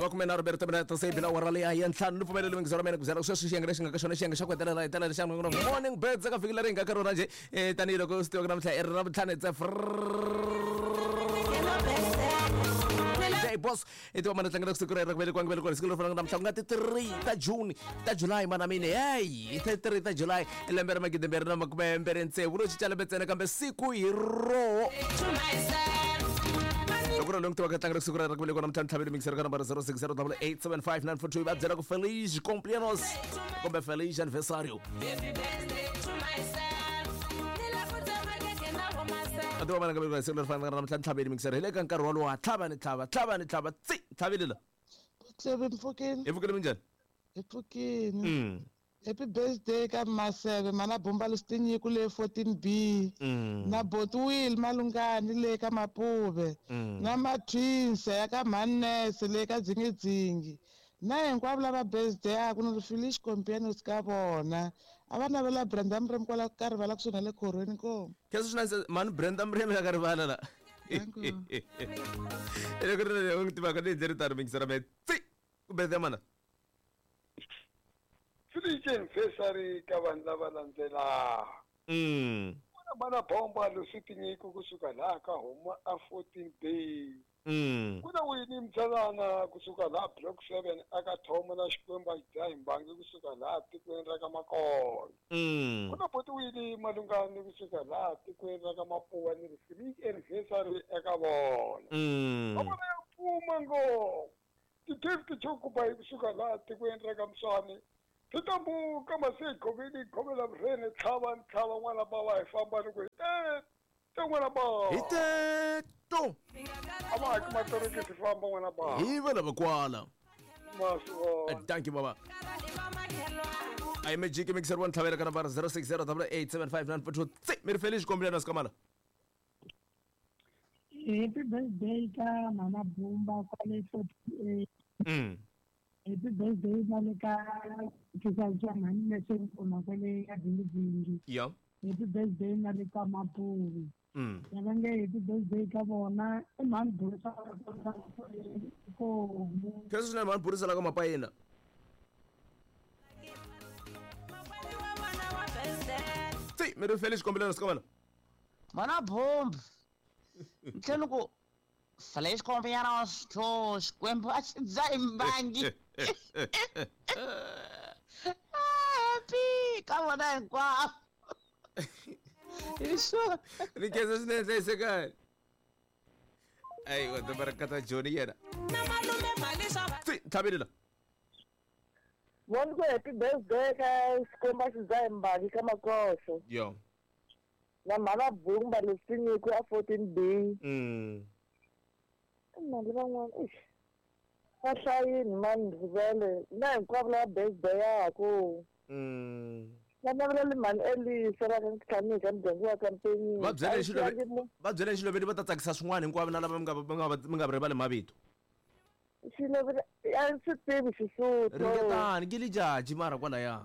Makume nharhu mbirhi timinete se yi bile awara leyi ya ntlhanu. Ni pfumeleli mingizo ra mina ku byela sweswi xiyenge lexi nga ka xona, xiyenge xa ku hetelela hi tela lexi Morning Birds eka vhiki leri hi nga ka rona njhe. Tanihiloko swi tiva ku namuntlha i ri Ravutlhanu, it's a Friday, boss. I tiva mana tlangela siku rero ku velekiwa nge velekiwa siku leri fanaka namuntlha, ku nga ti 3 ta June, ta July, mana mine, hey, ti 3 ta July, lembe ra 2026. Ro cinca lembe ntsena, kambe siku hi roho. Loko ri loyi tivaka tlangela siku rero ku velekiwa namuntlha, ntlhavelo mixer ka nambara 0608875942, va byela ku feliz cumpleaños kumbe feliz aniversario. A tiva mana nga velekiwa siku leri fanaka namuntlha, ntlhaveli mixer, hi le ka nkarhi wolowo. Tlhava ni tlhava, tlhava ni tlhava, tsi tlhavile la. Tsebe, mpfukini. Hi pfukile, minjhani? Hi pfukini. Happy birthday ka Maseve, mana Bomba Lustinyiko le 14B, na Botwill Malungani le ka Mapuve, na Matwins ya ka Mannese le ka Dzingidzingi, na hinkwavo lava birthday aku ni ri feliz cumpleaños ka vona. A va navela Brenda Mremi kwala ka rivala kusuhi na le khorweni ko. Khensa swinene, mani Brenda Mremi la ka rivala la. Danko. Loko ri ri n'wi tivaka ni ndlela tano mingisera me tsi ku birthday mana. Feliz anniversary ka vanhu lava landzelaka. Kuna mana Bomba Lusitinyiko kusuka laha ka huma a 14 B. Kuna Winnie Mtsalana kusuka laha Block 7 aka Thomo, na Xikwembu a xi dzahi mbangi kusuka laha tikweni ra ka Makolo. Kuna Boti Winnie Malungani kusuka laha tikweni ra ka Mapuwa, ni ri feliz anniversary eka vona. Va vona ya pfuma ngopfu. Ti-gift chokuba kusuka laha tikweni ra ka Mswani. Titambuka mase ghoveni ghovela vurhene, tlhava ni tlhava n'wana bava, hi famba ni ku hi te te n'wana bava. Hi teto. A va haki matorokisi, famba n'wana bava. Hi va lava kwala. Masivona. Thank you, baba. A hi magic mixer wa ntlhavela ka nambara 0608875942, tsi mi ri feliz cumpleaños kamala. Happy birthday ka Mama Bumba kwale 48. Happy birthday na le ka Thisasa mhani Lesenkuma kwale ka Dingidingi. Happy birthday na le ka Mapuvi. Lava nge happy birthday ka vona i mhani Burisa Komu. Khensa swinene, mhani Burisa la ka Mapayina. Tsi mi ri feliz cumpleaños kamala. Mana Bomba. Ntlhela ku feliz cumpleaños to Xikwembu a xi dzahi mbangi. Happy ka vona hinkwavo. Hi swona. Ni khensa swinene, hlayisekani. Ayi wa doroba ra kata Joni yena. Tsi ntlhaveli la. Voni ku happy birthday ka Xikwembu a xi dzahi mbangi ka Makoso. Yo. Na mhana Bumba Lesinyiko a 14B. Mali van'wana ix. Va hlayini mani rivele na hinkwavo lava birthday yaku. Va navelela mhani Elisa va ka Ntlhanu ka muganga wa ka Mpenyeni. Va byele xiloveni, va byele xiloveni, va ta tsakisa swin'wana hinkwavo na lava mi nga rivali mavito. Xiloveni a ndzi swi tivi Xisuthu. Ringetani ke lijaji mara kwalaya.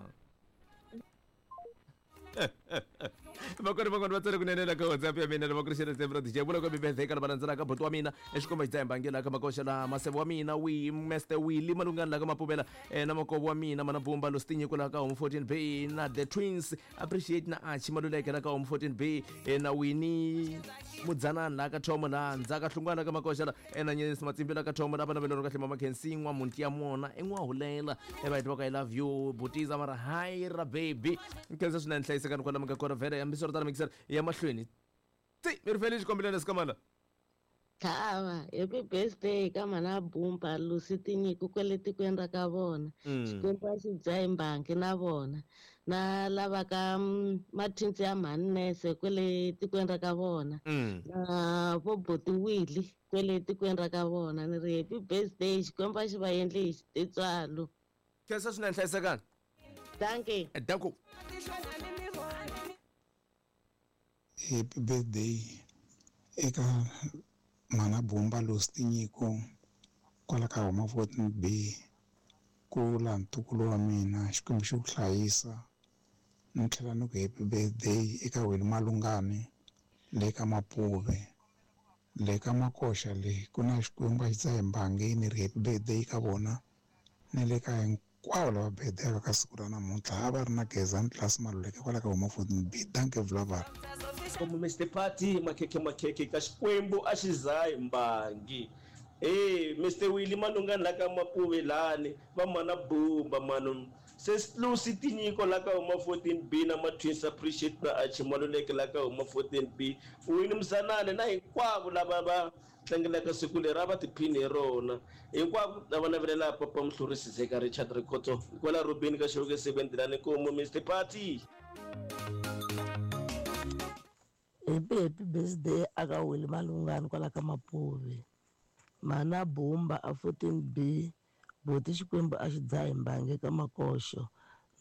Vakoni van'wana va tsale kunene la ka WhatsApp ya mina, lava ku ri xele tsembro DJ vula ku birthday ka lava landzelaka: buti wa mina exikomba xidzahi mbangela ka Makoxa la Maseve wa mina wi Mr Willy Malungani la ka Mapuvela, na makovo wa mina mana Bumba Lostinyiko la ka Home 14 B, na the twins Appreciate na Achi Maluleke la ka Home 14 B, na Winnie Mudzanani la ka Thomo la Ndzaka Hlungwana ka Makoxa la, na Nyenyesi Matsimbi la ka Thomo la vana velero kahle mama Khensi n'wa munti ya mona i n'wa hulela e va va ka I love you butiza mara hayi ra baby. Nkhensa swinene, hlayisekani kwala mi nga kona vhele. Hambiswiritano mixer ya mahlweni, ti mi ri feli xikombelelo sikamala. Tlhava, happy birthday ka mana Bumba Lucy Tinyiko kwale tikweni ra ka vona. Xikwembu a xi dzahi mbangi na vona. Na lava ka mathinsi ya mhani Nese kwale tikweni ra ka vona. Na vo Boti Willy kwale tikweni ra ka vona. Ni ri happy birthday, Xikwembu a xi va endli hi titswalo. Khensa swinene, hlayisekani. Dankie. Danko. Happy birthday eka Mhana Bumba Losi Tinyiko kwala ka Homa 14 B, ku laha ntukulu wa mina, Xikwembu xi ku hlayisa. Ni tlhela ni ku happy birthday eka Weli Malungani le ka Mapuve. Le ka Makoxa le ku na Xikwembu a xi dzahi mbangi, ni ri happy birthday ka vona ni le ka hinkwavo lava birthday ka siku ra namuntlha. A va ri na Gezani Class Maluleke kwala ka Homa 14B. Dankie Vulavula. Komu Mr Party makhekhe makhekhe ka Xikwembu a xi zahi mbangi. Hey Mr Willie Malungani la ka Mapuve lani va mana Bumba manu se Lucy Tinyiko la ka Homa 14B na ma Twins Appreciate na Archie Maluleke la ka Homa 14B Winnie Mzanani na hinkwavo lava va tlangelaka siku leri a va tiphini hi rona hinkwavo lava navelela Papa Muhlurisi Zeka Richard Rikhotso kwala Robini ka Xewuke 7 Dilani Nkomo Mr Party. Happy happy birthday aka Willie Malungani kwala ka Mapuve. Mana Bumba a 14B Boti Xikwembu a xi dzahi mbangi ka Makoxo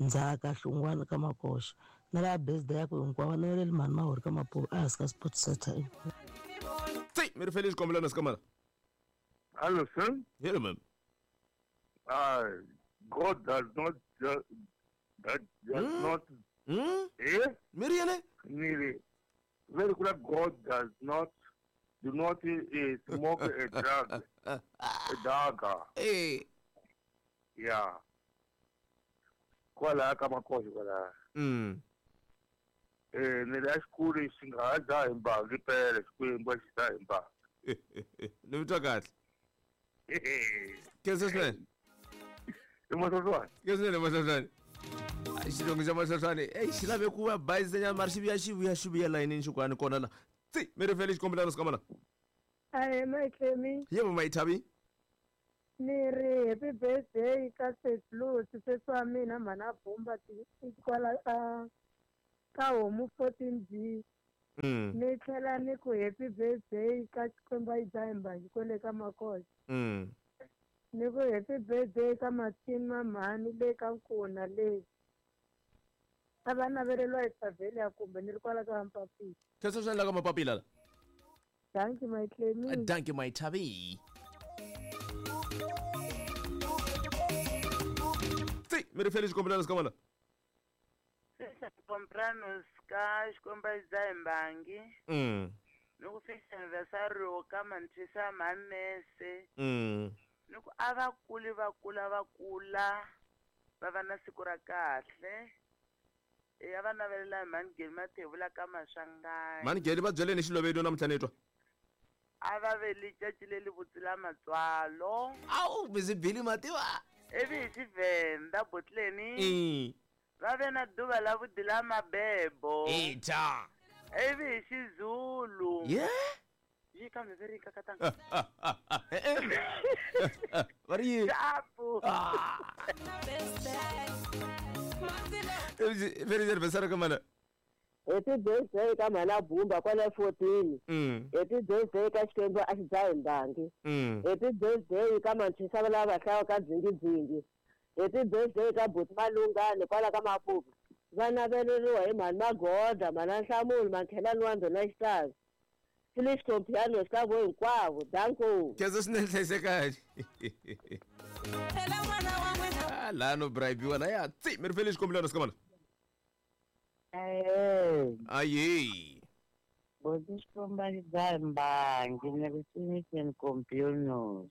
Ndzhaka Hlungwana ka Makoxo na lava birthday ya ku hinkwavo naveleli mhani Mahori ka Mapuve a hansi ka Sport Center. Tsi mi ri fele xikombelo na sikamana. Hello sir. Hello ma'am. God does not that does not eh mi ri yini? Ni very good. God does not do not smoke a drug, a dagger. Eh. Yeah. Kwala ka Makoxo kwala. Ni le xikulu xi nga ha dzahi mbangi pele Xikwembu a xi dzahi mbangi. Ni twa kahle. Khensa swinene. I Mahlwahlwane. Khensa swinene Mahlwahlwane. Xilungu xa Mahlwahlwane ei xi lave ku va bayizanyana mara xi vuya xi vuya xi vuya layinini xikwani kona la. Tsi mi ri fele xikombelano sikamana. Ahe Mayitlemi. Yebo Mayithabi. Ni ri happy birthday ka Sesi sesi wa mina mhana Bumba kwala ka Homu 14B. Ni tlhela ni ku happy birthday ka Xikwembu a yi dzahi mbangi kwale ka Makoxa. Ni ku happy birthday ka Mathini Mamhani le ka Nkuna le. A va naveleriwa hi Savelia kumbe ni ri kwala ka Mapapila. Khensa swinene la ka Mapapila la. Dankie Mayitlemi. Dankie Mayithabi. Tsi mi ri fele xikombelano sikamana. Compranos ka Xikwembu a xi dzahi mbangi. Ni ku festa anniversary ka Manthisa Manese. Ni ku a va kuli va kula va kula va va na siku ra kahle. A va navelela hi Mhani Geli Mathevula ka Maswanganyi. Mhani Geli va byeleni xilovelo namuntlha ni twa. A va veli caci leli vutsila matswalo. Awu busy Billy mativa. Ivi hi Xivenda botleni. Va ve na duva la vudi la mabebo. Ita. Ivi hi Xizulu. Yeah. Yi kambe ve ri kakatanga. Va ri yini? Xapu. Very anniversary ka mana. Happy birthday ka mhana Bumba kwala 14. Happy birthday ka Xikwembu a xi dzahi mbangi. Happy birthday ka Manthisa lava va hlawa ka Dzingidzingi. Happy birthday ka Buti Malungani kwala ka Mapuve. Va naveleriwa hi mhani Magoda, mhana Nhlamulo, Makhelani wa Ndhuna Xitazi. Felix Compiano ka vo hinkwavo. Danko. Khensa swinene hlayisekani. Laha no bribiwa laya. Tsi mi ri fele xikombelano sikamana. Aye. Boti Xikwembu a xi dzahi mbangi ni ri Felix Compianos.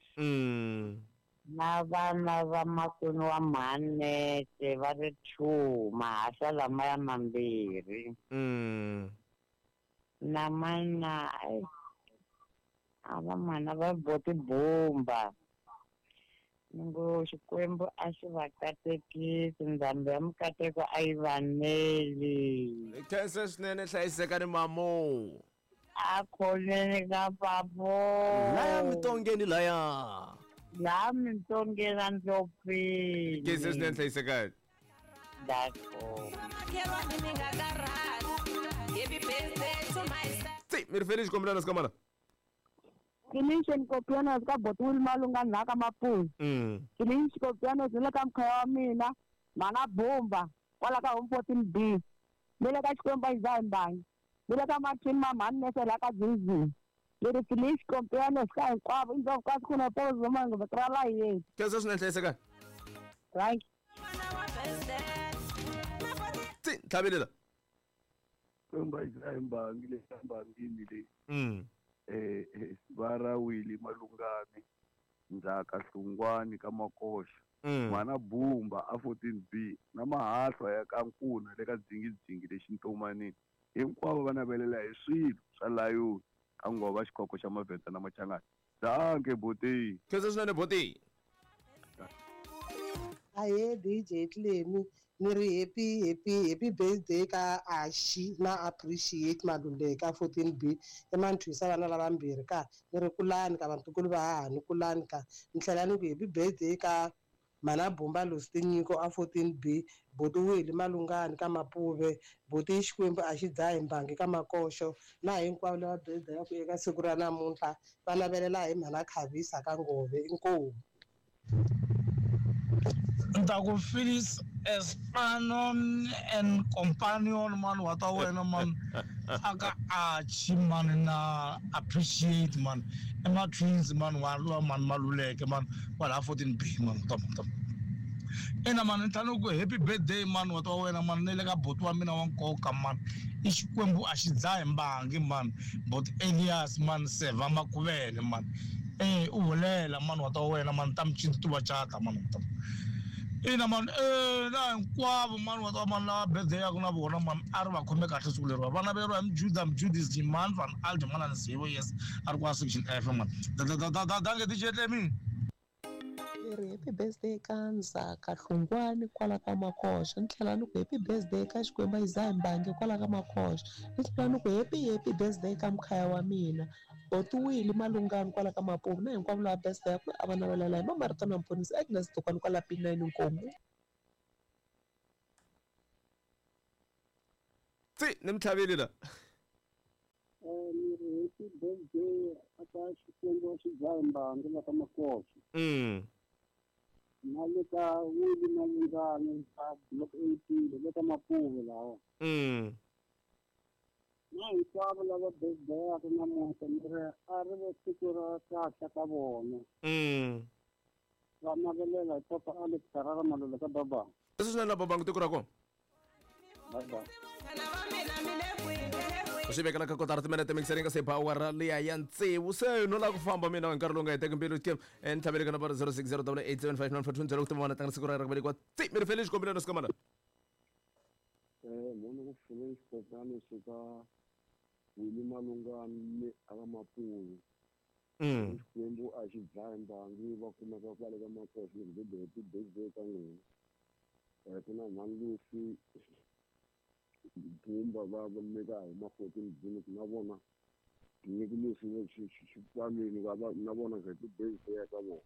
Na vana va makwenu wa Mhanete va ri 2 mahahla lamaya mambirhi. Na mana a va mana va Boti Bumba. Ni ngo Xikwembu a xi va katekisi, ndzambi ya mikateko a yi vaneli. Khensa swinene hlayisekani mamo. A khoneni ka papo. Laya mintongeni laya. La mintongeni a ndlopfini. Khensa swinene hlayisekani. D'accord. Tsi mi ri fele xikombelano sikamana. Kilinchen Kopianos ka Boti Willie Malungani la ka Mapuve. Kilinchen Kopianos ni le ka mkhaya wa mina Mhana Bumba kwala ka Home 14B. Ni le ka Xikwembu a xi dzahi mbangi. Ni le ka Mathini Mamhani Nese la ka Dzingidzingi. Ni ri Felix Compianos ka hinkwavo i ndzovu ka siku na pozo mango va la yeni. Khensa swinene hlayisekani. Thank you. Tsi tlhavelela. Xikwembu a xi dzahi mbangi le mbangini leyi. Va ra Willy Malungani Ndzhaka Hlungwani ka Makoxa. Mhana Bumba a 14B na mahahlwa ya ka Nkuna le ka Dzingidzingi lexi Ntomanini. Hinkwavo va navelela hi swilo swa layoni ka ngova xikhokho xa Mavhenda na Machangana. Dankie boti. Khensa swinene boti. Ahee DJ Clemi ni ri happy happy happy birthday ka Ashi na Appreciate Maluleka 14B emanthwisa vana lavambirhi ka ni ri kulani ka vatukulu va hahani kulani ka ni tlhela ni ku happy birthday ka Mhana Bumba Lucy Tinyiko a 14B Boti Willy Malungani ka Mapuve Boti Xikwembu a xi dzahi mbangi ka Makoxo na hinkwavo lava birthday ya ku eka siku ra namuntlha va navelela hi Mhana Khavisa ka Ngove inkomu. Ntaku Phyllis Espanon and companion man wa ta wena man aka achi man na appreciate man i ma twins man wa lowa man Maluleke man kwala 14B man ta ta ina man ni tlhela ni ku happy birthday man wa ta wena man ni le ka buti wa mina wa nkoka man i Xikwembu a xi dzahi mbangi man buti Elias man Seva Makuvele man u hulela man wa ta wena man ta mcintuva cata man ta ina man na hinkwavo man wa ta man lava birthday yaku na vona man a ri va khome kahle siku leriwa va naveriwa hi Mjuda Mjudis Jiman van Aldi mana Nzivo yes a ri kwa section F man dange DJ Clemi. Ri happy birthday ka Ndzhaka Hlungwani kwala ka Makoxa ni tlhela ni ku happy birthday ka Xikwembu Isaiah Mbangi kwala ka Makoxa ni tlhela ni ku happy happy birthday ka mkhaya wa mina Boti Willy Malungani kwala ka Mapuve na hinkwavo lava birthday ya ku a va navelela hi Mamarito na Mponisi Agnes Dokwani kwala P9 Nkomu. Tsi ni mi tlhavile la. Ni ri happy birthday aka Xikwembu xi dzahi mbangi la ka Makoxa. Na le ka Willy Malungani ka Block 18 le ka Mapuve lawa. Na hinkwavo lava birthday namuntlha ni ri a ri ve siku ra kahle ka vona. Va navelela hi Papa Alex Harara Maluleke ka baba. Leswi swinene la babangu tiko ra kona. Bye bye. Swi vekela ka kotara timinete mixering ka se power liya ya tsevu se no la ku famba mina hi nkarhi lowu nga heteki mbilu ke ni tlhavele ka nambara 0608875942 ku tiva tlanga siku ra ra ku velekiwa tsi mi ri fele xikombelo na sikamana. Mona ku fule xikopano suka Willy Malungani aka Mapuve. Xikwembu a xi dzahi mbangi va kumeka kwale ka Makoxa ni ku happy birthday ka n'wina. Ku na mhani Lucy Bumba va leka huma 14B na vona nyiko leswi xikwameni va na vona happy birthday ka vona.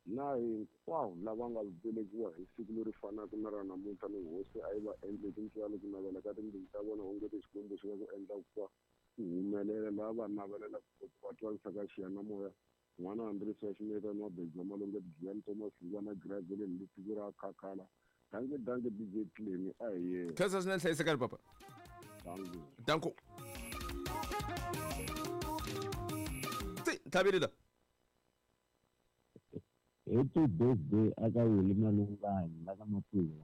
Na hinkwavo lava nga velekiwa hi siku leri fanaka na ra namuntlha ni hosi a yi va endle tintswalo ku navela ka timbilu ta vona onge Xikwembu xi nga ku endla ku va ku humelela lava va navelela ku va twarisa ka xiyanimoya n'wana Andrisi wa Ximetani wa Bedza Malonga Giyani Thomas Lungwana Graveleni le tiko ra Khakhala. Danke danke DJ Clemi a hi yena. Khensa swinene hlayisekani papa. Danke. Danko. Tsi tlhavile la. Happy birthday aka Willy Malungani la ka Mapuve.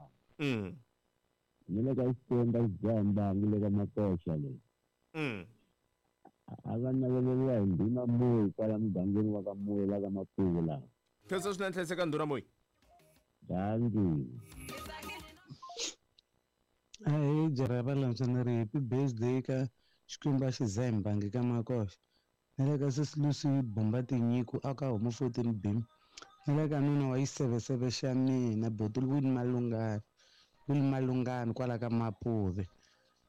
Ni le ka Xikwembu xi dzaha mbangi le ka Makoxa leyi. A va naveleriwa hi Ndhuna Moyi kwala mugangeni wa ka Moyi la ka Mapuve laha. Khensa swinene hlayisekani Ndhuna Moyi. Danke. Ahee Jeraba Lamsa ni ri happy birthday ka Xikwembu a xi dzahi mbangi ka Makoxa. Ni le ka Sesi Lucy Bumba Tinyiko aka huma 14B. Ni le ka nuna wa xiseveseve xa mina Boti Willy Malungani Willy Malungani kwala ka Mapuve.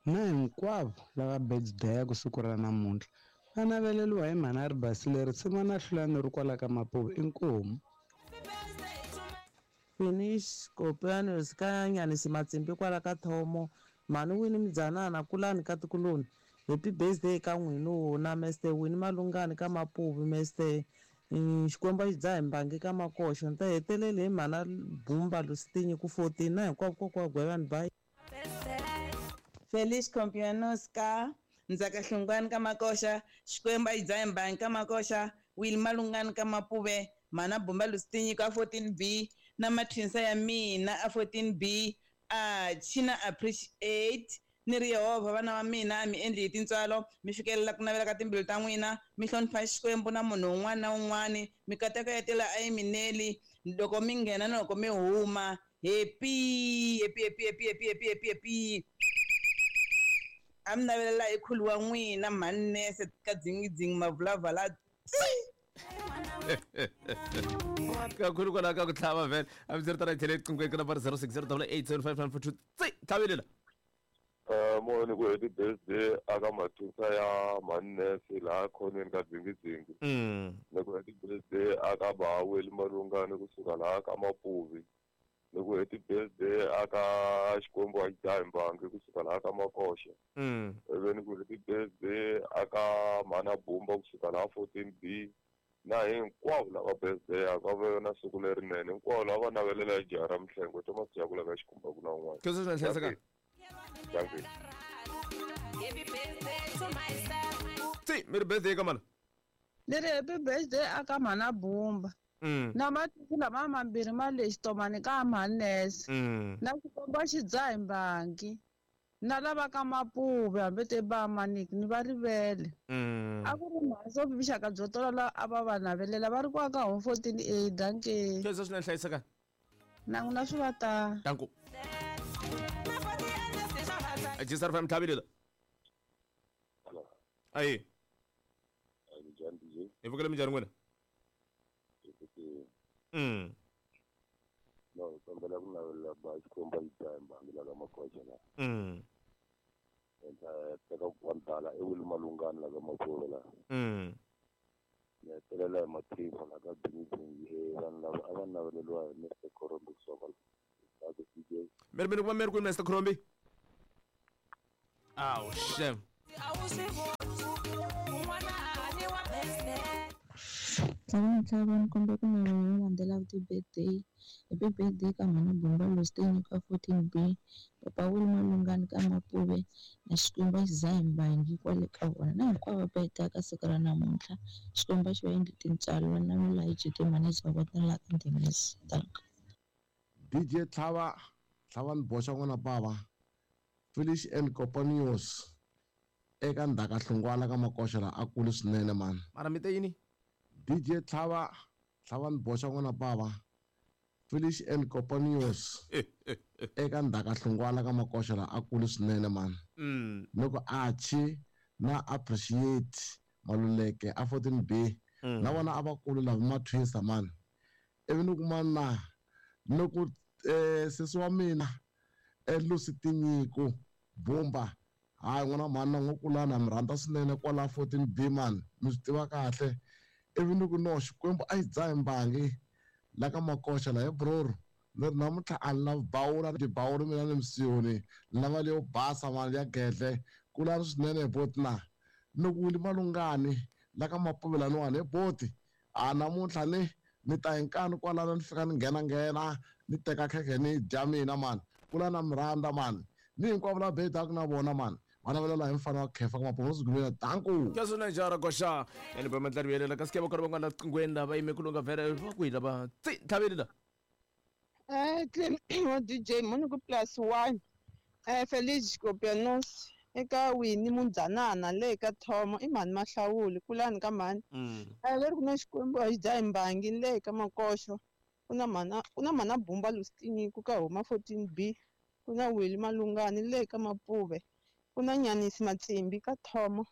Na hinkwavo lava birthday ya ku siku ra namuntlha va naveleriwa hi mhana ri basile ri tshama na hlulani ri kwala ka Mapuve inkomu. Finish Kopianos ka Nyanisi Matsimbi kwala ka Thomo mhani Winnie Mdzanana kulani ka Tikuloni happy birthday ka n'wina na Mr Winnie Malungani ka Mapuve Mr Xikwembu xi dzahi mbangi ka Makoxa ni ta hetelele hi mhana Bumba Lucy Tinyiko 14 na hinkwavo kokwa Gwevani bye. Feliz cumpleaños ka Ndzhaka Hlungwani ka Makoxa Xikwembu a xi dzahi mbangi ka Makoxa Willy Malungani ka Mapuve mhana Bumba Lucy Tinyiko a 14B na matwinsa ya mina a 14B a China appreciate Ni ri Yehovha vana va mina mi endli hi tintswalo, mi fikelela ku navela ka timbilu ta n'wina, mi hlonipha Xikwembu na munhu un'wana na un'wana, mikateko ya tilo a yi mi neli loko mi nghena na loko mi huma. Happy, happy, happy, happy, happy, happy, happy, happy. A mi navelela hi khulu wa n'wina mhani Nese ka dzingidzingi mavulavala. Kakhulu kwalaho ka ku tlhava vhele a mi ri tana hi tlhele eqingweni ka nambara 060 875 tsi tlhavelela. Moyeni ku happy birthday aka mathusa ya mhani Nese laha khoneni ka dzingidzingi. Ni ku happy birthday aka Baweli Malungani kusuka laha ka Mapuvi. Ni ku happy birthday aka Xikwembu a dzahi mbangi kusuka laha ka Makoxa. Ivi ni ku happy birthday aka Mhana Bumba kusuka laha 14B na hinkwavo lava birthday aka va na siku lerinene, hinkwavo lava navelela hi jaha ra Mihlengo Thomas Jakula ka Xikhumba ku na un'wana. Khensa swinene, hlayiseka. Thank you. Tsi mi ri birthday ka mana? Ni ri happy birthday aka Mhana Bumba. Na matiko lama mambirhi ma le xitomani ka Mhani Nese. Na Xikwembu a xi dzahi mbangi. Na lava ka Mapuve hambi te ba maniki ni va rivele. A ku ri mhani vuxaka byo tola la a va va navelela va ri ku aka home 14A danke. Khensa swinene, hlayiseka. Na n'wina swi va ta. Danko. Jisar fam tlhavelela. Ayi. Hi vukele minjhani n'wina? No, kombela ku navelela ba Xikwembu a xi dzahi mbangi la ka Makoxa la. Teka ku tala i Wili Malungani la ka Mapuve la. Ni hetelela hi Mathimba la ka Dzingidzingi, vanhu lava a va naveleriwa hi Mr Khorombi kusuka la ka DJ. Mi ri mi kuma mi ri kwini Mr Khorombi? Awu shem. Tlhava ni komba ku navelela landzela ti-birthday. Happy birthday ka Mhana Bumba Lostin ka 14B, Papa Wili Malungani ka Mapuve na Xikwembu a xi dzahi mbangi kwale ka vona. Na hinkwavo va birthday ka siku ra namuntlha. Xikwembu a xi va endli tintswalo va navela hi GT manager wa vona la ka Ndhemesi. Danko. DJ Tlhava, Tlhava ni boxa n'wana bava. Felish and Companions eka Ndhaka Hlongwana ka Makoxa la a kulu swinene man. Mara mi te yini? DJ Tlhava, Tlhava ni boxa n'wana bava. Felish and Companions eka Ndhaka Hlongwana ka Makoxa la a kulu swinene man. Loko Archie na Appreciate Maluleke a 14B na vona a va kulu lava mathwisa man. Ivi ni kuma na loko sesi wa mina Lucy Tinyiko Bumba, hayi n'wana mhani na n'wi kulana mi rhandza swinene kwala 14B man, mi swi tiva kahle. Ivi ni ku no Xikwembu a xi dzahi mbangi la ka Makoxa la he broro, ni ri namuntlha a ni lavi bawula ni bawula mina ni msiyoni, ni lava leyo basa mani ya gedle, kulani swinene boti na. Ni ku Wili Malungani la ka Mapuve laniwani he boti, a namuntlha ni ta hi nkani kwalano ni fika ni nghena ni teka khekhe ni dya mina mani, kulana mi rhandza mani, ni hinkwavo lava bedaka na vona mani, va navelela hi mfana wa khefa ka Mapuve Sigumela. Danko. Khensa swinene jara koxa. Ene ba mandlari yelela ka sikeba kona van'wana qingweni lava yime ku lunga vhele va kwihi lava tsi tlhaveli la. Wa DJ muni ku +1. Felix Kopianos eka Wini Mundzanana le ka Thomo i mhani Mahlawuli kulani ka mhani. Leri ku na Xikwembu a xi dzahi mbangi le ka Makoxo. Ku na mhana Bumba Lustini ku ka huma 14B. Ku na Wili Malungani le ka Mapuve. Ku na Nyanisi Matsimbi ka Thomo.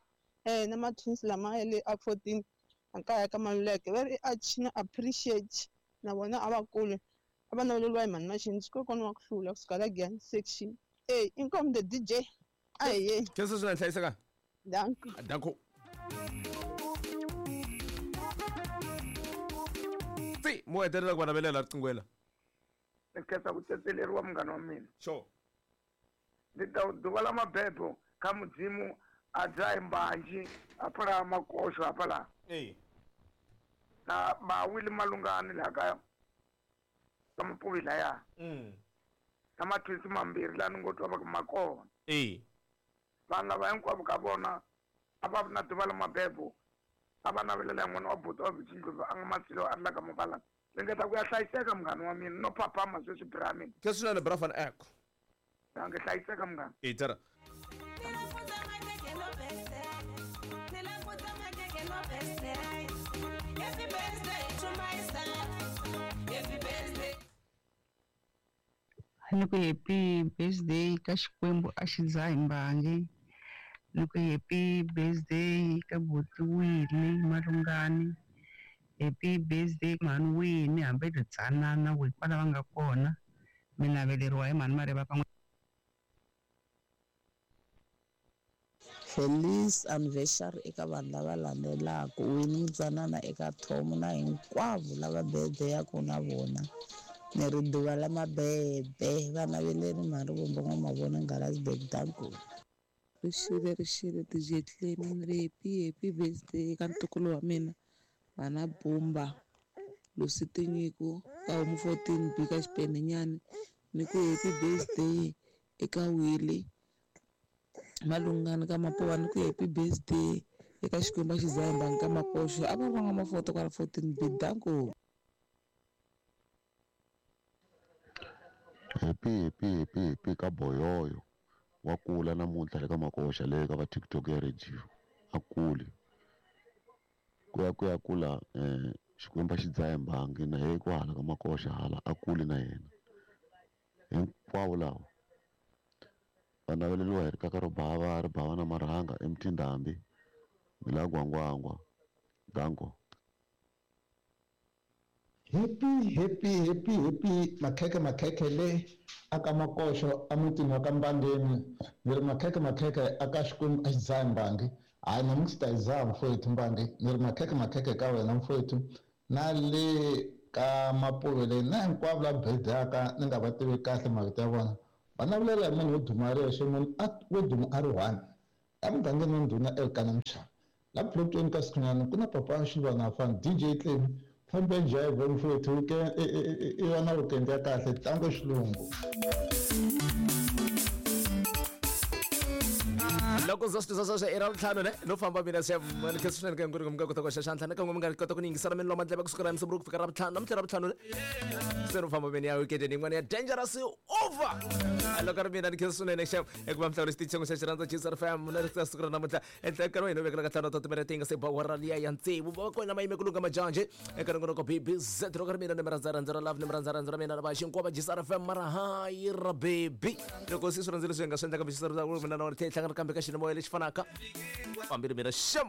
Na matwins lama ya le a 14 a kaya ka Maluleke. Va ri Archie na Appreciate na vona a va kule. A va naveleriwa hi mhani Maxinzi kokwana wa ku hlula kusuka la Giyani section. Inkomu the DJ. Aye. Khensa swinene, hlayiseka. Danko. Danko. Tsi, mo hetelela ku va navelela riqingwela. Ni khensa ku tsetseleriwa munghana wa mina. Sure. Ni ta ḓuvha ḽa mabebo kha Mudzimu a dzahi mbanzhi hafhaḽa Makoxo hafhaḽa. Na ba Wili Malungani la ka Mapuve laya. Na mathwisi mambirhi la ni ngo twa va ku ma kona. Vanhu lava hinkwavo ka vona a va na ḓuvha ḽa mabebo, a va navelela n'wana wa buti wa Vhitshindlopfu a nga masilo a ri la ka Mabalana. Ringeta ku ya hlayiseka munghana wa mina, no phaphama sweswi bra mina. Khensa swinene bra van Eck. Nge hlayiseka munghana. Tara. Ni ku happy birthday ka Xikwembu a xi dzahi mbangi. Ni ku happy birthday ka buti Winnie Malungani. Happy birthday mhani Winnie hambi ri tsanana we kwala va nga kona. Mi naveleriwa hi mhani Mareva ka. Feliz anniversary eka vanhu lava landzelaka Winnie Mutsanana eka Tom na hinkwavo lava birthday-aku na vona. Ni ri duva la mabebe va naveleri mhani Rivombo N'wamavona Ngalazibeg danko. Rixile rixile DJ Clem ni ri happy happy birthday ka ntukulu wa mina vana Bumba Lucy Tinyiko ka homu 14 B ka Xipenenyani ni ku happy birthday eka Willy Malungani ka Mapuwa ni ku happy birthday eka Xikwembu a xi zahembanga ka Makoxo a va ri van'wamafoto kwala 14 B danko. Happy happy happy happy ka boyoyo wa kula namuntlha le ka makoxa le ka va TikTok ya radio a kuli ku ya ku ya kula Xikwembu a xi dzahe mbangi na yena kwahala ka makoxa hala a kuli na yena hinkwavo lava va naveleriwa hi rikaka ro bava ri bava na marhanga emtindhambi ni la gwangwangwa danko. Happy happy happy happy makhekhe makhekhe le aka makoxo emutini wa ka Mbangeni ni ri makhekhe makhekhe aka Xikwembu a xi dzahi mbangi hayi namuntlha ta yi dzaha mfowethu mbangi ni ri makhekhe makhekhe ka wena mfowethu na le ka Mapuve leyi na hinkwavo la birthday-aka ni nga va tivi kahle mavito ya vona va navelela hi munhu wo duma a ri yexe munhu wo duma a ri one emugangeni wa ndhuna Elkana Mchava la plotweni ka Sikhunyana ku na papa Xilwana Fan DJ Clem fambe jive mfowethu i va na weekend ya kahle tango xilungu. Loko ndza swi twisisa sweswo i ra vutlhanu ne no famba mina se ni khensa swinene ka hinkwerhu mi nga kota ku hoxa xandla na ka n'we mi nga kota ku ni yingisela mi loma ndleve kusukela hi Musumbunuko ku fika ra vutlhanu namuntlha ra vutlhanu ne se no famba mina ya weekend yin'wana ya dangerous over loko ri mina ni khensa swinene xa eku va mihlawula xitichi xa xirhandza GCR FM na ri siku ra namuntlha enhla nkarhi wa hina vekela ka tlhanu ta timinete yi nga se ba awara liya ya tsevu va kona ma yime ku lunga majanje eka nongonoko BBZ loko ri mina ni mi rhandza rhandza ra love ni mi rhandza rhandza ra mina ra va xinkwa va GCR FM mara hayi ra baby loko se swi rhandzile swi nga swi endla kambe xi mina na wena tlhela hi hlangana kambe ka xinimoya lexi fanaka fambile mina xem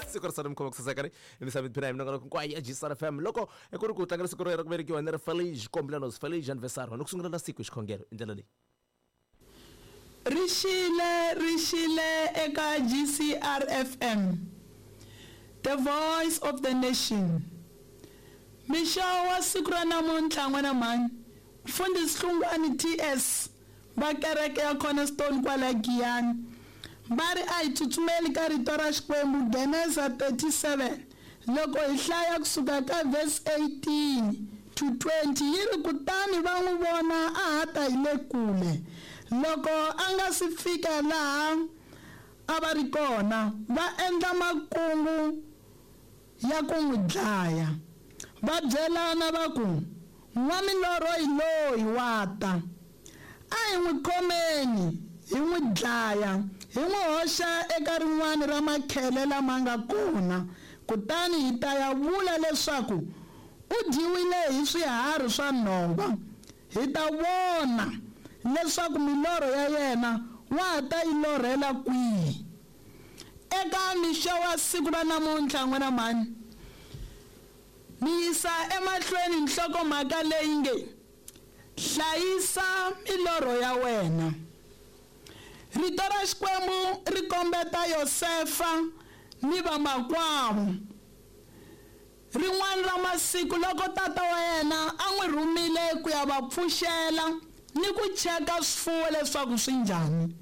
siku ra sani mi khoma ku saseka ni misava phina hi minongonoko hinkwayo ya GCR FM loko ku ri ku tlangela siku ra ku velekiwa ni ri Feliz cumpleaños Feliz anniversario ni ku sungulela siku hi xikhongelo hi ndlela leyi. Rixile rixile eka GCR FM The voice of the nation Mixo wa siku ra namuntlha n'wana mhani Mfundhisi Hlungwani TS va kereke ya Cornerstone kwala Giyani va ri a hi tsutsumeli ka rito ra Xikwembu Genesa 37 loko hi hlaya kusuka ka verse 18 to 20 yi ri kutani va n'wi vona a ha ta hi le kule loko a nga si fika laha a va ri kona va endla makungu ya ku n'wi dlaya. Va byelana va ku, N'wamilorho hi loyi, wa ta. A hi n'wi khomeni, hi n'wi dlaya, hi n'wi hoxa eka rin'wana ra makhele lama nga kona, kutani hi ta ya vula leswaku u dyiwile hi swiharhi swa nhova. Hi ta vona leswaku milorho ya yena wa ha ta yi lorhela kwihi. Eka mixo wa siku ra namuntlha, n'wina mhani, ni yisa emahlweni nhloko-mhaka leyi nge, Hlayisa Milorho Ya Wena. Rito ra Xikwembu ri kombeta Yosefa ni vamakwavo. Rin'wana ra masiku loko tata wa yena a n'wi rhumile ku ya va pfuxela ni ku cheka swifuwo leswaku swi njhani,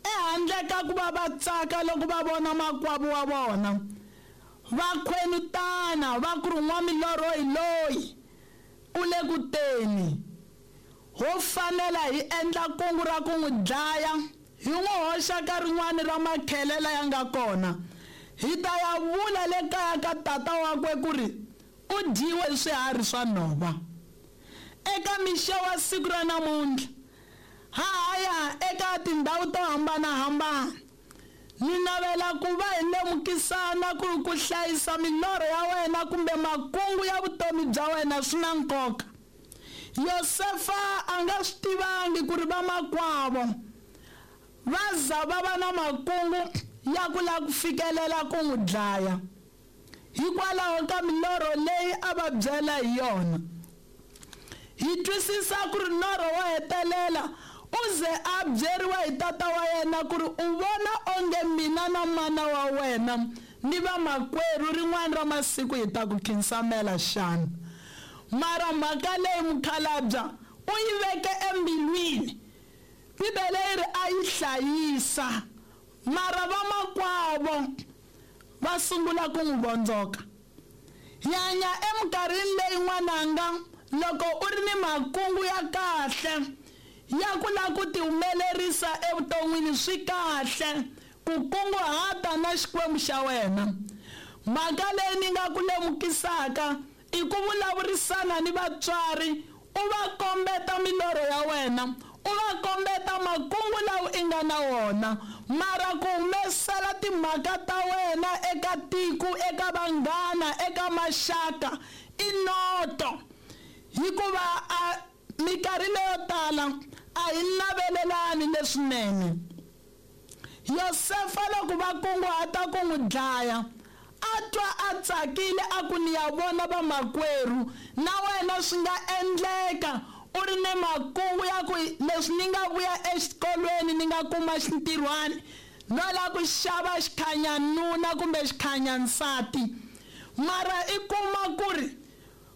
Ehandle ka ku va va tsaka loko va vona makwavo wa vona, va khwenutana va ku ri n'wamilorho hi loyi, u le ku teni. Ho fanela hi endla kungu ra ku n'wi dlaya, hi n'wi hoxa ka rin'wana ra makhele laya nga kona. Hi ta ya vula le kaya ka tata wakwe ku ri u dyiwe hi swiharhi swa nhova. Eka mixo wa siku ra namuntlha, Ha ha ya eka tindhawu to hambana-hambana. Ni navela ku va hi lemukisana ku ri ku hlayisa milorho ya wena kumbe makungu ya vutomi bya wena swi na nkoka. Yosefa a nga swi tivangi ku ri vamakwavo va za va va na makungu ya ku lava ku fikelela ku n'wi dlaya hikwalaho ka milorho leyi a va byela hi yona. Hi twisisa ku ri norho wo hetelela u ze a byeriwa hi tata wa yena ku ri u vona onge mina na mana wa wena ni vamakwerhu rin'wana ra masiku hi ta ku khinsamela xana. Mara mhaka leyi mukhalabya u yi veke embilwini. Bibele yi ri a yi hlayisa mara vamakwavo va sungula ku n'wi vondzoka. Hi hanya eminkarhini leyi n'wananga loko u ri ni makungu ya kahle ya ku lava ku tihumelerisa evuton'wini swi kahle ku kunguhata na Xikwembu xa wena. Mhaka leyi ni nga ku lemukisaka i ku vulavurisana ni vatswari u va kombeta milorho ya wena, u va kombeta makungu lawa i nga na wona, mara ku humesela timhaka ta wena eka tiko, eka vanghana, eka maxaka i noto. Hikuva a minkarhi leyo tala a hi navelelani leswinene. Yosefa loko va kunguhata ku n'wi dlaya, a twa a tsakile a ku ni ya vona vamakwerhu. Na wena swi nga endleka u ri ni makungu ya ku leswi ni nga vuya exikolweni ni nga kuma xintirhwani no lava ku xava xikhanyanuna kumbe xikhanyansati, mara i kuma ku ri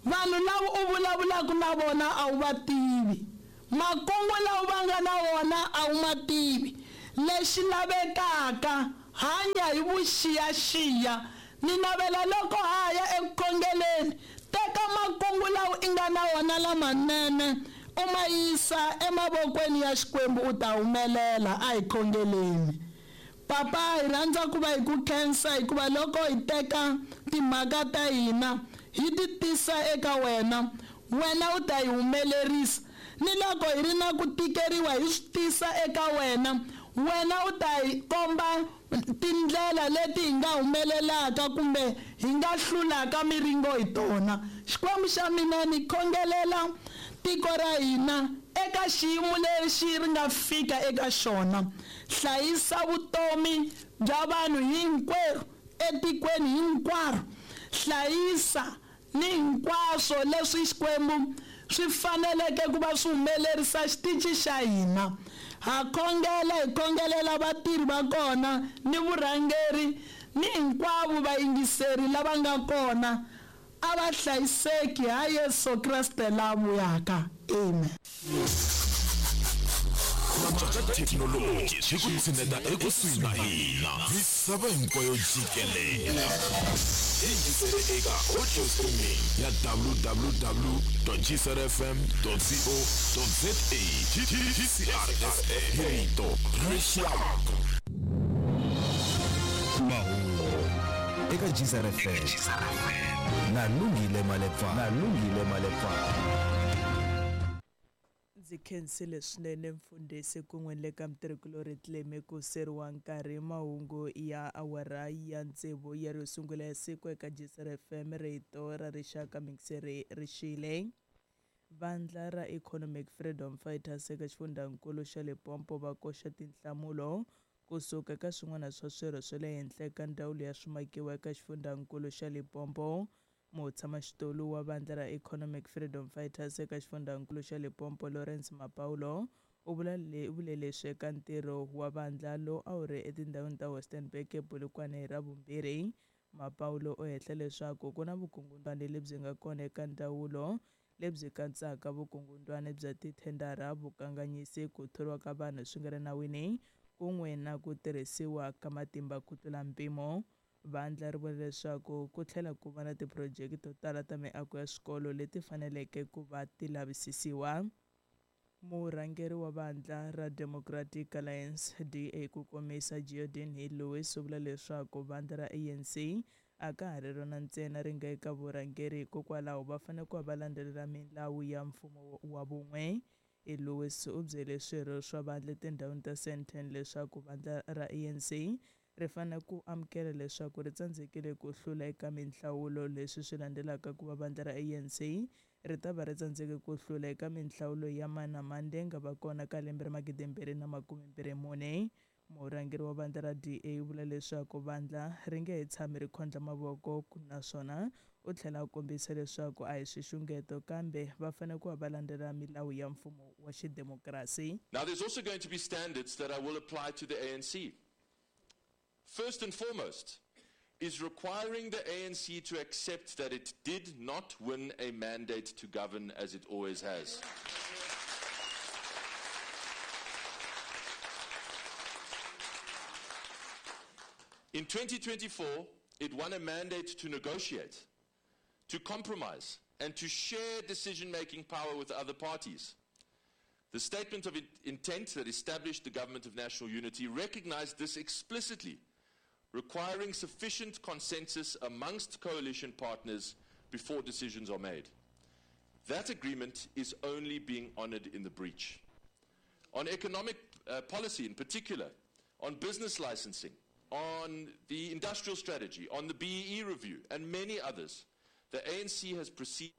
vanhu lava u vulavulaka na vona a wu va tivi, makungu lawa va nga na wona a wu ma tivi. Lexi lavekaka hanya hi vuxiyaxiya. Ni navela loko ha ya eku khongeleni, teka makungu lawa i nga na wona lamanene u ma yisa emavokweni ya Xikwembu, u ta humelela. A hi khongeleni. Papa, hi rhandza ku va hi ku khensa hikuva loko hi teka timhaka ta hina hi ti tisa eka wena, wena u ta hi humelerisa. Ni loko hi ri na ku tikeriwa hi swi tisa eka wena, wena u ta hi komba tindlela leti hi nga humelelaka kumbe hi nga hlulaka miringo hi tona. Xikwembu xa mina, ni khongelela tiko ra hina eka xiyimo lexi ri nga fika eka xona. Hlayisa vutomi bya vanhu hinkwerhu etikweni hinkwaro. Hlayisa ni hinkwaswo leswi Xikwembu swi faneleke ku va swi humelerisa xitichi xa hina. Ha khongela, hi khongelela vatirhi va kona ni vurhangeri ni hinkwavo vayingiseri lava nga kona. A va hlayiseki ha Yesu Kreste la vuyaka. Amen. Thekinoloji swi ku tshineta ekusuhi na hina misava hinkwayo jikelele. Yingisele eka audio streaming ya www.gcrfm.co.za. GCRFM, rito ra rixaka. Mahungu eka GCRFM na Lungile Malepfa, na Lungile Malepfa. Ndzi khensile swinene mfundhisi kun'we ni le ka mutirhikulorhi Cleme ku seriwa nkarhi. Mahungu ya awara ya tsevu ya ro sungula ya siku eka GCR FM, rito ra rixaka. Mingiseri rixile. Vandla ra Economic Freedom Fighters eka xifundzankulu xa Limpopo va koxa tinhlamulo kusuka eka swin'wana swa swirho swa le henhla ka ndzawulo ya swimakiwa eka xifundzankulu xa Limpopo. Mutshamaxitulu wa vandla ra Economic Freedom Fighters eka xifundzankulu xa Limpopo, Lawrence Mapaulo, u vule leswi eka ntirho wa vandla lowu a wu ri etindhawini ta Westernburg ePolokwane hi Ravumbirhi. Mapaulo u hehla leswaku ku na vukungundwani lebyi nga kona eka ndzawulo lebyi katsaka vukungundwani bya tithendara, vukanganyisi, ku thoriwa ka vanhu swi nga ri nawini kun'we na ku tirhisiwa ka matimba ku tlula mpimo. Vandla ri vula leswaku ku tlhela ku va na tiphurojeke to tala ta miako ya swikolo leti faneleke ku va ti lavisisiwa. Murhangeri wa vandla ra Democratic Alliance, DA ku komisa, Geordin Hill-Lewis, u vula leswaku vandla ra ANC a ka ha ri rona ntsena ri nga eka vurhangeri, hikokwalaho va fanele ku va va landzelela milawu ya mfumo wa vun'we. Lewis u byele swirho swa vandla etindhawini ta Sandton leswaku vandla ra ANC ri fanele ku amukela leswaku ri tsandzekile ku hlula eka minhlawulo, leswi swi landzelaka ku va vandla ra ANC ri ta va ri tsandzeke ku hlula eka minhlawulo ya mani na mani leyi nga va kona ka lembe ra 2024. Murhangeri wa vandla ra DA u vula leswaku vandla ri nge he tshami ri khondla mavoko, naswona u tlhela a kombisa leswaku a hi swixungeto kambe va fanele ku va va landzela milawu ya mfumo wa xidemokirasi. Now there's also going to be standards that I will apply to the ANC. First and foremost is requiring the ANC to accept that it did not win a mandate to govern as it always has. In 2024, it won a mandate to negotiate, to compromise, and to share decision-making power with other parties. The statement of intent that established the Government of National Unity recognized this explicitly, requiring sufficient consensus amongst coalition partners before decisions are made. That agreement is only being honored in the breach. On economic policy in particular, on business licensing, on the industrial strategy, on the BEE review, and many others, the ANC has proceeded.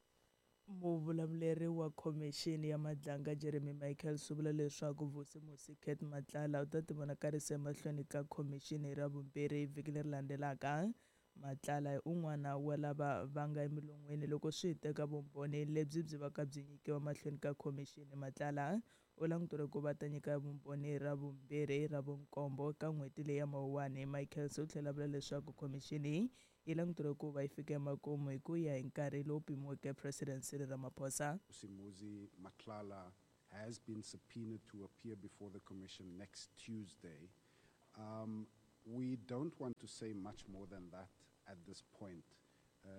Muvulavuleri wa Khomixini ya Madlanga Jeremy Michaels u vula leswaku Vusimusi Cat Matlala u ta tivonakarisa emahlweni ka khomixini ra vumbirhi vhiki leri landzelaka. Matlala hi un'wana wa lava va nga emilon'weni loko swi teka vumbhoni lebyi byi vaka byi nyikiwa mahlweni ka khomixini. Matlala u languteriwe ku va ta nyika vumbhoni ra vumbirhi ra vunkombo ka n'hweti leyi ya Mawuwani. Michaels u tlhela vula leswaku khomixini yi languteriwe ku va yi fika emakumu hi ku ya hi nkarhi lowu pimiweke President Cyril Ramaphosa. Vusimuzi Matlala has been subpoenaed to appear before the commission next Tuesday. We don't want to say much more than that at this point.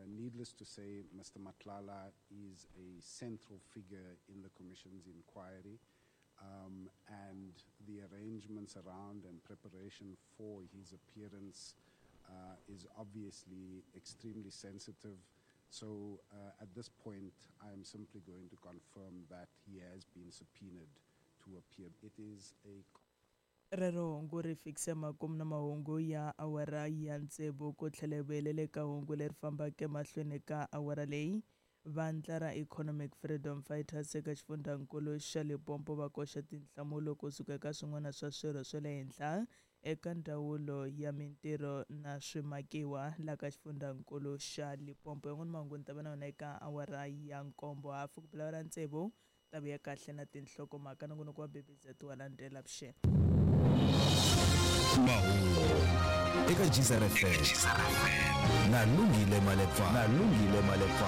Needless to say, Mr. Matlala is a central figure in the commission's inquiry, and the arrangements around and preparation for his appearance is obviously extremely sensitive. So at this point, I am simply going to confirm that he has been subpoenaed to appear. It is a Rero hungu ri fikise makumu na mahungu ya awara ya tsevu ku tlhela vuyelele ka hungu leri fambaka emahlweni ka awara leyi. Vandla ra Economic Freedom Fighters eka xifundzankulu xa Limpopo va koxa tinhlamulo kusuka eka swin'wana swa swirho swa le henhla eka ndzawulo ya mintirho na swimakiwa la ka xifundzankulu xa Limpopo. Yan'wana mahungu ni ta va na yona eka awara ya nkombo hafu ku bela awara ya tsevu ta vuya kahle na tinhlokomhaka nongonoko wa BBZ wa landzela vuxeni. Mahungu eka GCR FM na Lungile Malepa, na Lungile Malepa.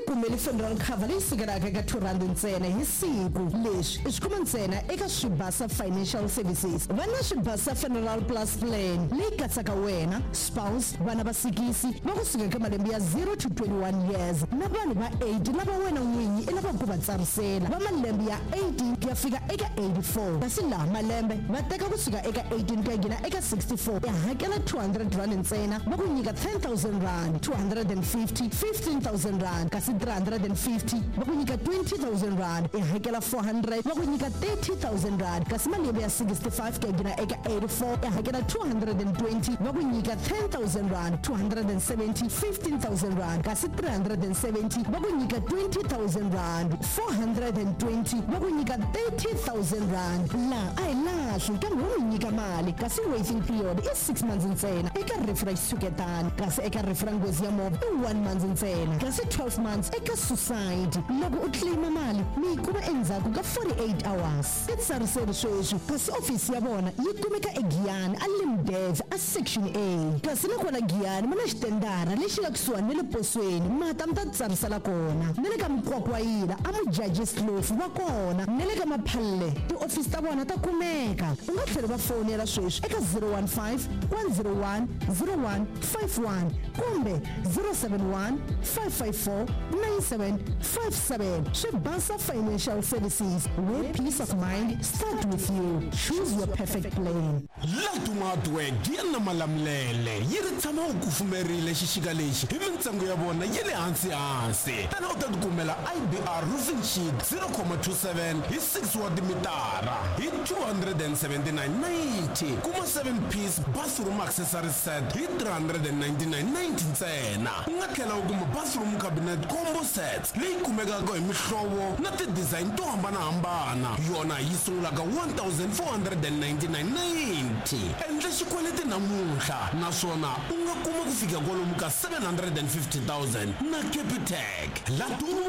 Kumele funeral cover leyi sukelaka eka R2 ntsena hi siku. Leswi i swi kuma ntsena eka Swibasa Financial Services. Va na Swibasa Funeral Plus Plan leyi katsaka wena, spouse, vana va sikisi va kusuka eka malembe ya 0 to 21 years na vanhu va 80 lava wena n'winyi i lavaka ku va tsarisela va malembe ya 18 ku ya fika eka 84, kasi laha malembe va teka kusuka eka 18 ku ya nghena eka 64. I hakela R200 ntsena va ku nyika R10,000, 250, R15,000, kasi 350 va ku nyika R20,000. I hakela 400 va ku nyika R30,000, kasi malembe ya 65 ku ya nghena eka 84 i hakela 220 va ku nyika R10,000, 270, R15,000, kasi 370 va ku nyika R20,000, 420 va ku nyika R30,000. La a hi lahli kambe wo mi nyika mali, kasi waiting period i 6 months ntsena eka rifu ra xitshuketani, kasi eka rifu ra nghozi ya movha i 1 month ntsena, kasi 12 months eka suicide. Loko u claima mali mi yi kuma endzhaku ka 48 hours. I tsariseri sweswi, kasi ofisi ya vona yi kumeka eGiyani a Limdev a section A, kasi nakona Giyani ma na xitendara lexi nga kusuhani na le posweni, mata mi ta tsarisela kona, na le ka Mkwakwayila a Mujaji Slofu va kona, na le ka Maphalle tiofisi ta vona ta kumeka. U nga tlhela va fonela sweswi eka 015 101 0151 kumbe 071 554 9757. Swibasa Financial Services, where peace of mind start with you. Choose your perfect plan. Latuma Hardware na Malamulele yi ri tshama u kufumerile xixika lexi hi mintsengo ya vona ya le hansi hansi. Tana u ta tikumela IBR roofing sheet 0.27 hi 6 wa timitara hi 279.90. Kuma 7 piece bathroom accessory set hi 399.90 ntsena. U nga tlhela u kuma bathroom cabinet combo Combo sets leyi kumekaka hi mihlovo na ti-design to hambanahambana. Yona yi sungula ka 1499.90. Endla xikweleti namuntlha naswona u nga kuma ku fika kwalomu ka 750 000 na Capitec. Laduma,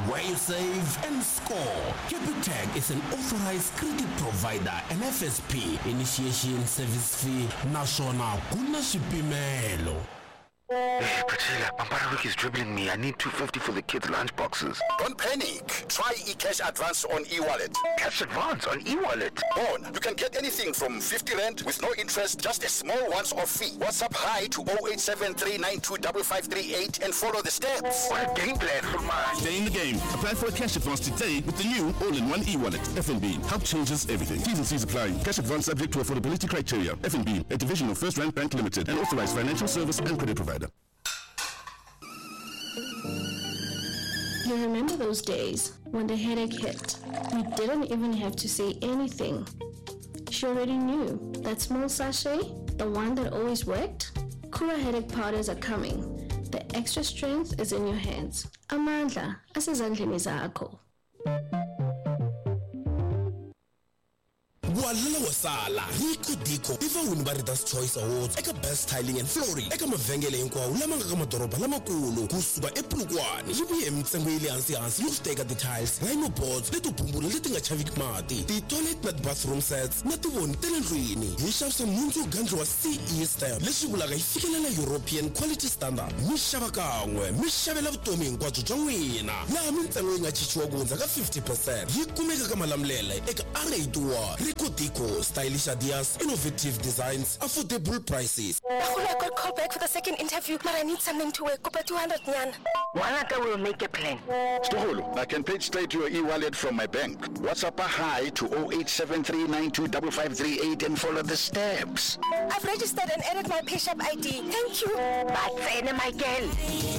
where you save and score. Capitec is an authorized credit provider and FSP initiation service fee naswona ku na swipimelo. Hey, Priscilla, Pampara Week is dribbling me. I need 250 for the kids' lunch boxes. Don't panic. Try eCash Advance on eWallet. Cash Advance on eWallet? On. You can get anything from 50 Rand with no interest, just a small once-off fee. WhatsApp hi to 0873925538 and follow the steps. What a game plan for mine. Stay in the game. Apply for a cash advance today with the new all-in-one eWallet. FNB. Help changes everything. T's and C's apply. Cash advance subject to affordability criteria. FNB, a division of First Rand Bank Limited, an authorized financial service and credit provider. You remember those days when the headache hit? You didn't even have to say anything. She already knew that small sachet, the one that always worked. Kura headache powders are coming. The extra strength is in your hands. Amandla, asezandleni zakho. Walala wasala Rico Dico i vawini va Readers Choice Awards eka Best Tiling and Flooring eka mavhengele hinkwawo lama nga ka madoroba lamakulu kusuka ePolokwane. Yi vuye hi mintsengo ya le hansi-hansi yo teka ti-tiles, rhino boards leto bumbula leti nga chaviki mati, ti-toilet na ti-bathroom sets na tivoni ta le ndlwini. Hi xavisa nhundzu yo gandliwa CE stamp, leswi vulaka yi fikelela European Quality Standard. Mi xava kan'we mi xavela vutomi hinkwabyo bya n'wina, laha mintsengo yi nga chichiwa ku hundza ka 50%. Yi kumeka ka Malamulele eka R81. Rico Dico, stylish ideas, innovative designs, affordable prices. I got called back for the second interview, but I need something to work. Kopa 200 nyan. Wanaka will make a plan. Stoholo, I can pay straight to your e-wallet from my bank. WhatsApp a hi to 0873925538 and follow the steps. I've registered and added my PayShap ID. Thank you. Batsene, my girl.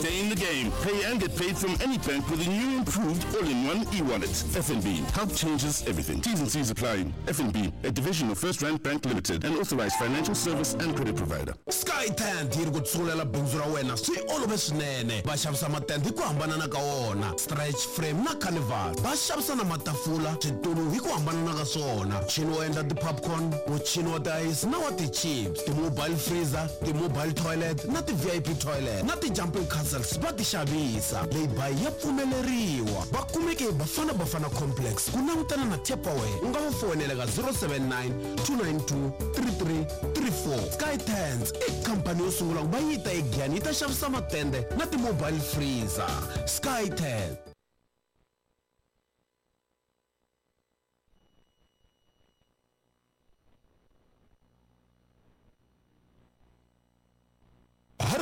Stay in the game. Pay and get paid from any bank with the new improved all-in-one e-wallet. FNB. Help changes everything. T's and C's apply. FNB, a division of First Rand Bank Limited, an authorized financial service and credit provider. Sky Tent yi ri ku tshungulela bindzu ra wena swi olove swinene. Va xavisa matende hi ku hambanana ka wona, stretch frame na carnival. Va xavisa na matafula, switulu hi ku hambanana ka swona, muchini wo endla ti-popcorn, muchini wa ti-ice na wa ti-chips, ti-mobile freezer, ti-mobile toilet na ti-VIP toilet na ti-jumping castles va ti xavisa. Leyi ya pfumeleriwa. Va kumeke hi Bafana Bafana Complex ku langutana na Tupperware. U nga va foyinela ka 079 292 3334. Sky Tents i khampani yo sungula ku va yi ta eGiyani yi ta xavisa matende na ti-mobile freezer. Sky Tent.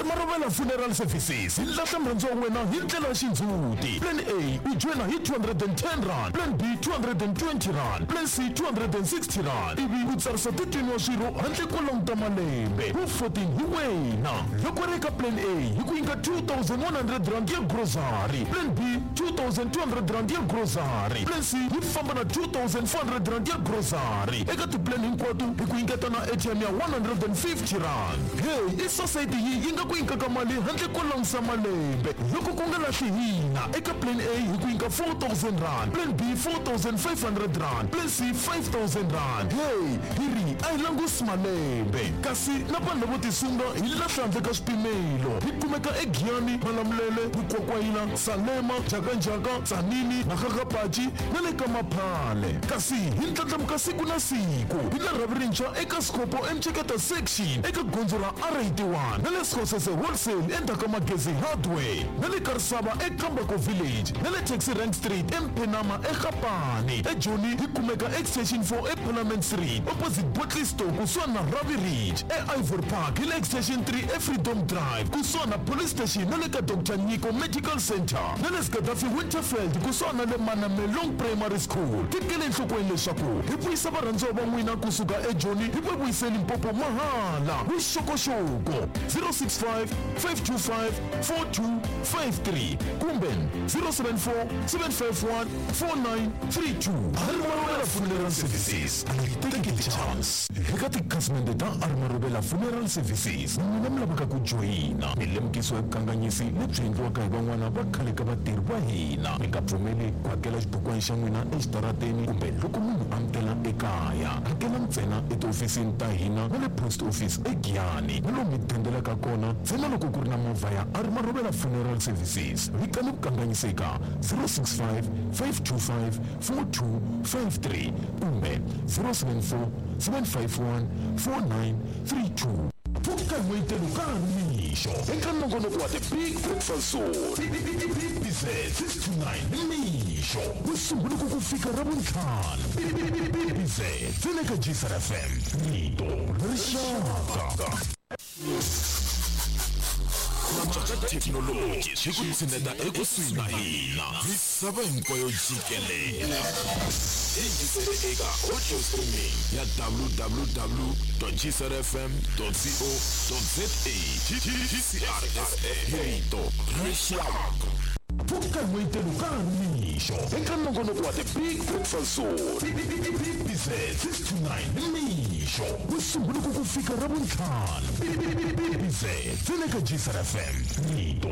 Marovela Funeral Services hi lahla murhandzi wa wena hi ndlela ya xindzhuti. Plan A u joyina hi 210 rand, Plan B 220 rand, Plan C 260 rand, ivi u tsarisa 13 wa swirho handle ko languta malembe. Wu 14 hi wena. Loko ri eka Plan A hi ku nyika 2100 rand ya grocery, Plan B 2200 rand ya grocery, Plan C yi famba na 2400 rand ya grocery. Eka tiplan hinkwato hi ku nyiketa na ATM ya 150 rand. Hey, i society yi nga ku nyikaka mali handle ko langusa malembe. Loko ku nga lahli hina eka Plan A hi ku nyika 4000 rand, Plan B 4500 rand, Plan C 5000 rand. Hey, hi ri a hi langusi malembe, kasi na vanhu lavo tisunga hi lahla handle ka swipimelo. Hi kumeka eGiyani, Malamulele, Mukwakwayila, Salema, Jakanjaka, Tsanini, Makgakgapachi na le ka Maphale. Kasi hi ndlandlamuka siku na siku hi la rhavi rintshwa eka Scopo eMcheketa section eka gondzo ra R81 na le Skhosese Wholesale endzhaku ka Magezi Hardware na le Karisava eKambako Village na le Taxi Rank Street eMphenama eGapani. eJoni hi kumeka Extension 4 eParliament Street opposite Botley Store kusuhani na Ravi Ridge. E-Ivory Park hi le Extension 3 eFreedom Drive kusuhani na Police Station na le ka Dr Nyiko Medical Center na le Gaddafi Winterfeld kusuhani na le Manamelong Primary School. Tekele enhlokweni leswaku hi vuyisa varhandziwa va n'wina kusuka eJoni hi va vuyise Limpopo mahala. Vuxokoxoko 065 525 4253 kumbe 074 751 4932. Harry Marovela Funeral Services. Take the chance. Eka tikhasimende ta Armaruvela Funeral Services, n'wina mi lavaka ku joyina milemukiso ya vukanganyisi lebyi endliwaka hi van'wana va khale ka vatirhi va hina. Mi nga pfumeli ku hakela xibukwana xa n'wina exitarateni kumbe loko munhu a mi tela ekaya. Hakela ntsena etihofisini ta hina na le post office eGiyani na lomu mi dendelaka kona ntsena loko ku ri na movha ya Armaruvela Funeral Services. Vitani vukanganyisi eka 065 525 4253 kumbe 074 751 4932. Pfuka n'wetelo ka ha ri mixo eka nongonoko wa The Big Breakfast Zone. BBZ 6 to 9 nimixo ku sungula ku ku fika Ravuntlhanu. BBZ ntsena eka GCR FM, rito ra rixaka. Ku cinca ka thekinoloji swi ku tshineta ekusuhi na hina misava hinkwayo jikelele. Yingisele eka audio streaming ya www.gcrfm.co.za. GCRFM, rito ra rixaka. Pfuka n'wetelo ka ha ri mixo eka nongonoko wa The Big Breakfast Zone. BBZ 6 to 9 nimixo ku sungula ku ku fika Ravuntlhanu. BBZ ntsena eka GCR FM, rito